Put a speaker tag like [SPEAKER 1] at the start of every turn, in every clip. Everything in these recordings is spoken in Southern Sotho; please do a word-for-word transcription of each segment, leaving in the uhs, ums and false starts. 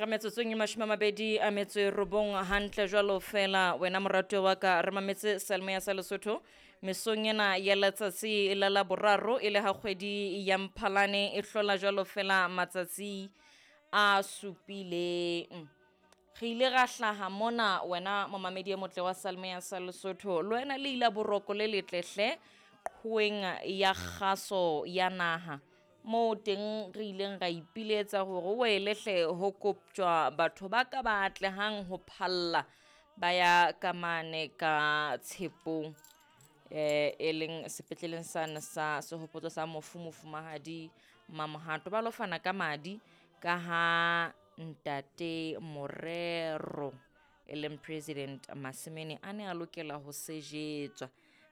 [SPEAKER 1] Metsotsong e mashome a mabedi a metso e robong hantle jwalo fela wena moratuwa wa ka re mametse Seyalemoya sa Lesotho mesong ena ya letsatsi la Laboraro e le ha kgwedi ya Mphalane e hlola jwalo fela matsatsi a supileng. Re ile ra hlaha mona wena momamedi e motle wa Seyalemoya sa Lesotho le wena le ila boroko le letle hle qhoweng ya kgaso ya naha moo teng re ileng ra ipiletsa hore wele hle ho koptjwa batho ba ka ba atlehang ho phalla ba ya ka mane ka Tshepong eh e leng sepetleleng sane sa sehopotso sa mofu mofumahadi Mamohato ba lo fana ka madi ka ha ntate Morero e leng President Masemene a ne a lokela ho sejetswa.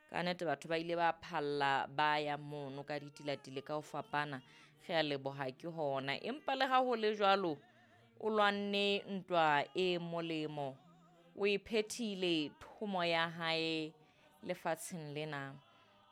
[SPEAKER 1] Ka nnete batho ba ile ba phalla ba ya mono ka ditilatile ka ho fapana re a leboha ke hona. Empa le ha ho le jwalo o lwanne ntwa e molemo o e phethile thomo ya hae lefatsheng lena.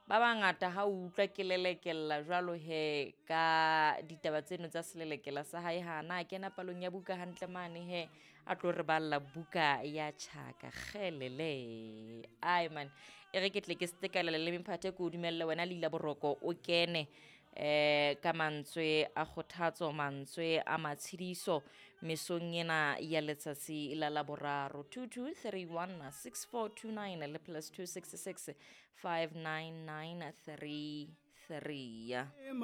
[SPEAKER 1] Ba bangata ha o utlwa ke lelekella jwalo he ka ditaba tseno tsa selelekela sa hae hana a kena palong ya buka hantle mane he a tlo re balla buka ya Tjhaka kgelele. Ai man e re ke tle ke stekalele le mephathe ke o dumelle wena Leila Boroko o kene eh ka mantswe a kgothatso mantswe a matshediso mesong ena ya letsatsi la Laboraro two two three one six four two nine le plus two six six five nine nine three three.